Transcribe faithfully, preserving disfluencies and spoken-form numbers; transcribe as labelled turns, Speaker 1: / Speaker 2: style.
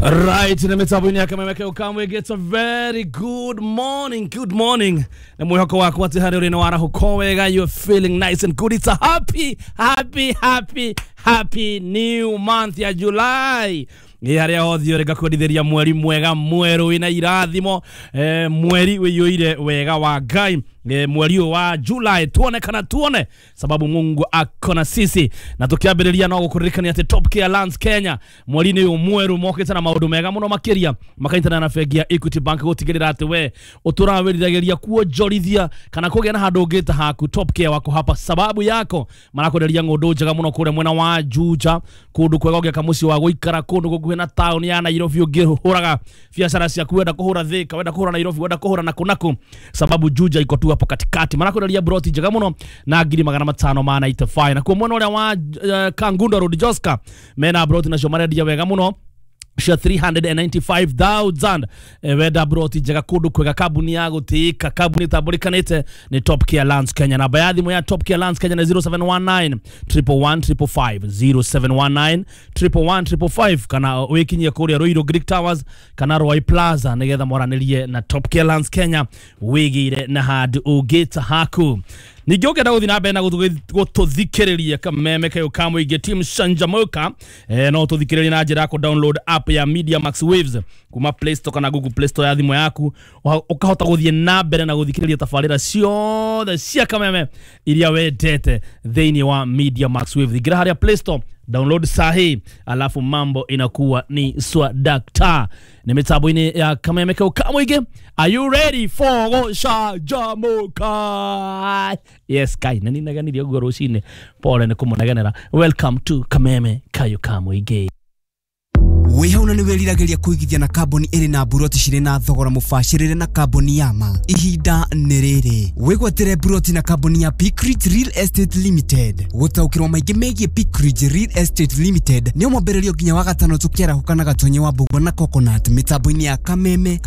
Speaker 1: Right, na mitambo-inĩ ya Kameme kau kamwĩngĩ. It's a very good morning, good morning. Na mwĩhoko wakwa atĩ harĩa ũrĩ nĩ warahũka wega, you're feeling nice and good. It's a happy, happy, happy, happy new month ya July. Ĩ harĩa hothe ũrĩ, ngakwendithĩria mweri mwega mwerũ wĩna irathimo, eh, mweri wĩiyũire wega wa Ngai, eh, mweri ũyũ wa July tuone kana tuone sababu Mungu ako na sisi. Na tukiambĩrĩria no gũkũririkania atĩ Top Care Lands Kenya mweri-inĩ ũyũ mwerũ mokĩte na maũndũ mega mũno makĩria, makanyitana na bengi ya Equity Bank gũtigĩrĩra atĩ we ũtũraga wĩriragĩria kuonjorithia kana kũgĩa na handũ ũngĩta haku. Top Care wako hapa sababu yako, marakwenderia ng'ũndũ njega mũno kũrĩa mwena wa Juja, kũndũ kwega ũngĩaka mũciĩ wa gũikara, kũndũ gũkuhĩ na taũni ya Nairobi, ũngĩhũraga biacara ciaku, wenda kũhũra Thika, wenda kũhũra Nairobi, wenda kũhũra naku naku, sababu Juja iko tu hapo katikati. Marakwenderia broti njega mũno na ngiri magana matano ma ninety-five. Nakuo mwena ũrĩa wa uh, Kangundo Road, Joska, mena broti nacio marendia wega mũno cia three hundred ninety-five thousand. eh, wenda broti njega kundu kwega, kambuni ya gutĩĩka, kambuni ĩtambũrĩkanĩte nĩ Top Care Lands Kenya. Namba ya thimũ ya Top Care Lands Kenya nĩ zero seven one nine one one one five five, zero seven one nine one one one five five, kana wĩkinyie kũrĩa Ruiru Greek Towers kana Roy Plaza nĩgetha mwaranĩrie na Top Care Lands Kenya, wĩgĩire na handũ ũngĩta haku. Ningĩ ũngĩenda gũthiĩ na mbere na gũtũthikĩrĩria Kameme kayo ka mũingĩ, team Canjamũka, eh, no tũthikĩrĩrie na njĩra ya kũ download app ya Media Max Waves kuma Play Store kana Google Play Store ya thimũ yaku, ũkahota gũthiĩ na mbere na gũthikĩrĩria tabarĩra ciothe cia Kameme iria wendete thĩinĩ wa Media Max Waves. Ingĩra harĩa Play Store, download sahi, alafu mambo inakuwa ni swadakta. Ni mitambo-inĩ ya Kameme kau ka mũingĩ. Are you ready for gũcanjamũka? Yes, kai nĩ ninaganirie ũguo rũcinĩ, pole nĩ kũmũnegenera. Welcome to Kameme kayo ka mũingĩ.
Speaker 2: Wĩ hau na nĩ wĩriragĩria kũigithia na kambuni ĩrĩ na mburoti cirĩ na thogora mũbacĩrĩre na kambuni ya ma, ihinda nĩ rĩrĩ wĩgwatĩre mburoti na kambuni ya Peakridge Real Estate Limited. Gũtaũkĩrwo maingĩ megiĩ Peakridge Real Estate Limited nĩ mwambĩrĩrio nginya wa gatano tũkĩarahũka na Gatonye wa Mbũgua na Coconut mĩtambo-inĩ ya Kameme.